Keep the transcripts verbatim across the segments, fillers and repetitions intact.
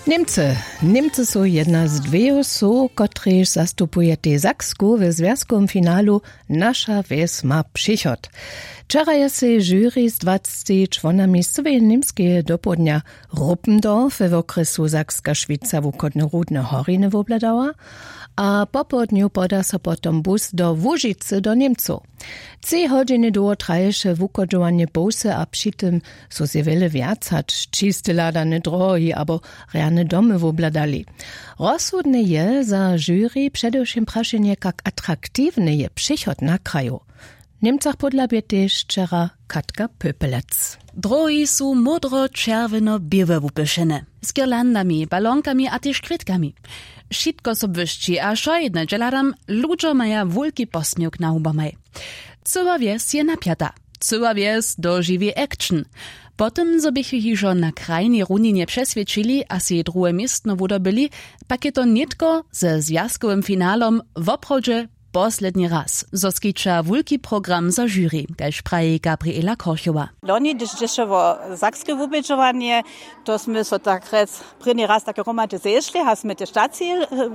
Němcy. Němcy su jedna z dweju sow, kotrež zastupujetej Saksku w zwjazkowym finalu. Naša wjes ma přichod. Wčera je sej žuri z dwacci čłonami z cyłeje Němskeje dopołdnja Ruppendorf we wokrjesu Sakska Šwica wuchodne rudne horiny wobhladała, a popołdnju poda so potom bus do Łužicy do Němcow. Tři hodźiny dołho traješe wuchodźowanje połsy a při tym su sej wjele wjac hač čiste hladane drohi abo rjane domy wobhladali. Rozsudne je za žuri předewšěm prašenje, kak atraktiwny je přechod na kraju. W Němcach pódla bě tež wčera Katka Pöpelec. Drohi su módro-čerwjeno-běłe wupyšene, z girlandami, balonkami a tež kwětkami. Wšitko so błyšći a wšojedne dźe hladam, ludźo maja wulki posměwk na hubomaj. Cyła wjes je napjata. Cyła wjes dožiwi action. Po tym, zo běchu hižo na krajnej runinje přeswědčili a sej druhe městno wudobyli, pak je to nětko ze zwjazkowym finalom woprawdźe posledni raz, zo skića wulki program za žuri, kaž praji Gabriela Korchowa. Loni, hdyž dźěše wo sakske wubědźowanje, to smy so tak rjec prěni raz tak hromady zešli a smy tež taci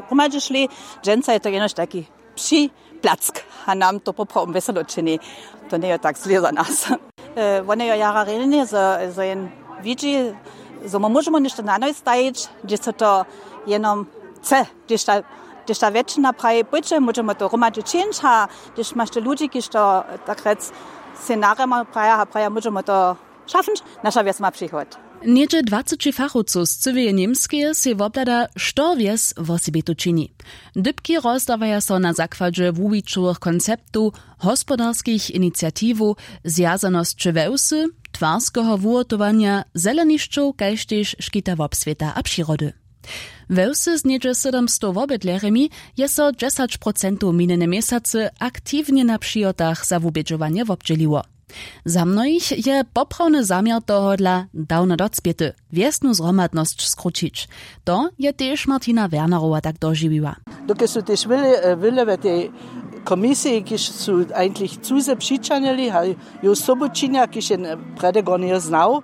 hromadźe šli. Dźensa je to jenož taki připlack a nam to poprawom wjeselo čini. To njeje tak zle za nas. Wone jo jara rjenje, zo jen widźi, zo my móžemy něšto na noj stajić, hdźež so to jenom chce, hdźež ta wjetšina praji, pójće, móžemy to hromadźe čińć, a hdźež maš te ludźi, kiž to tak rjec sej narjema praja a praja, móžemy to šafnć, naša wjes ma přichod. Něhdźe dwaceći fachowcow z cyłeje Němskeje sej wobhlada, što wjes wosebitej čini. Dypki rozdawaja so na zakładźe wuwićowych konceptow, hospodarskich iniciatiwow, zwjazanosće wewsy, twarskeho wuhotowanja, zelenišćow kaž tež škita wobswěta a přirody. We wsy z něhdźe sydomstow wobydlerjemi je so dźesać procentow minjene měsacy aktiwnje na přihotach za wubědźowanje wobdźěliło. Za mnohich je poprawny zaměr tohodla dawno docpěty, wjesnu zhromadnosć skrućić. To je tež Martina Wernerowa tak dožiwiła. Dokelž su tež wjele wjele we tej komisiji, kiž su eigentlich cuze přićahnili a ju sobu činja, kiž je prjedy gornjeho znał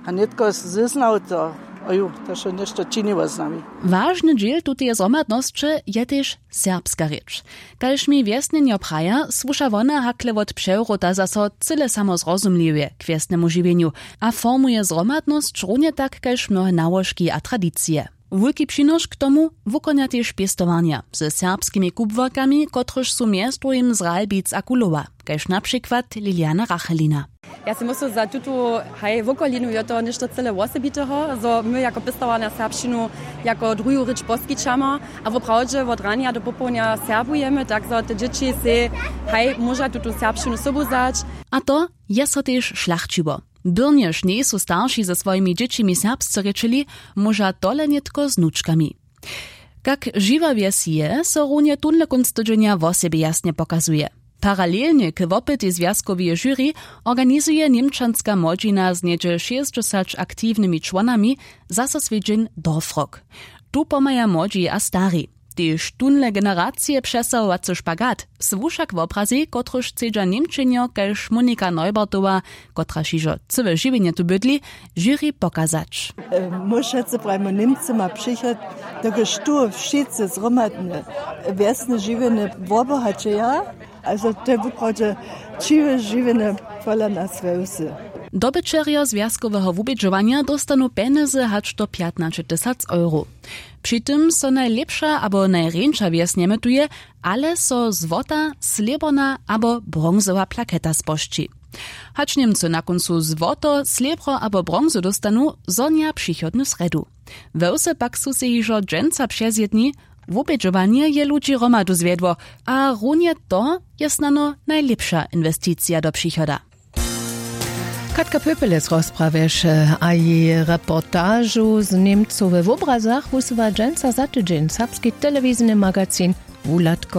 a nětko zznał to, oju, to so něšto činiło z nami. Wažny dźěl tuteje zhromadnosće je tež serbska rěč. Kaž mi wjesnjenjo praja, słuša wona hakle wot přewróta zaso cyle samozrozumliwje k wjesnemu žiwjenju a formuje zhromadnosć runje tak kaž mnohe nałožki a tradicije. Wulki přinošk k tomu wukonja tež pěstowarnja ze serbskimi kubłarkami, kotryž su mjez druhim z Ralbic a Kulowa, kaž na přikład Liliana Rachelina. Ja sej myslu, za tutu haj wokolinu je to něšto cyle wosebiteho, zo my jako pěstowarnja serbšćinu jako druhu rěč poskićamy a woprawdźe wot ranja do popołdnja serbujemy, tak zo te dźěći sej haj móža tutu serbšćinu sobu wzać. A to je so tež šlachćiło. Byrnjež njejsu starši ze swojimi dźěćimi serbsce rěčeli, móža tole nětko z nučkami. Kak žiwa wjes je, so runje tónle kónc tydźenja wosebje jasnje pokazuje. Paralelnje k wopytej zwjazkoweje žuri organizuje němčanska młodźina z něhdźe šěsćdźesać aktiwnymi čłonami zaso swjedźeń Dorfrock. Tu pomhaja młodźi a stari. Tež tónle generacije přesahowacy špagat słuša k wobrazej, kotryž chcedźa němčenjo kaž Monika Neubertowa, kotraž hižo cyłe žiwjenje tu bydli, žuri pokazać. My wšetcy prajimy, Němcy ma přichod, dokelž tu wšitcy zhromadnje wjesne žiwjenje wobohaćeja. Azo to je wuprawdźe ćiwe žiwjenje pola nas we wsy. Dobyćerjo zwjazkoweho wubědźowanja dóstanu pjenjezy hač do pjatnaće tysac euro. Při tym so najlěpša abo najrjeńša wjes njemytuje, ale so złota, slěborna abo bronzowa plaketa spožči. Hač Němcy na kóncu złoto, slěbro abo bronzu dóstanu, zhonja přichodnu srjedu. We wsy pak su sej hižo dźensa přezjedni. Wubědźowanje je ludźi hromadu zwjedło a runje to je snano najlěpša inwesticija do přichoda. Katka Pöpelec rozprawješe a jeje reportažu z Němcow we wobrazach wusyła dźensa za tydźeń serbski telewizijny magazin Wuhladko.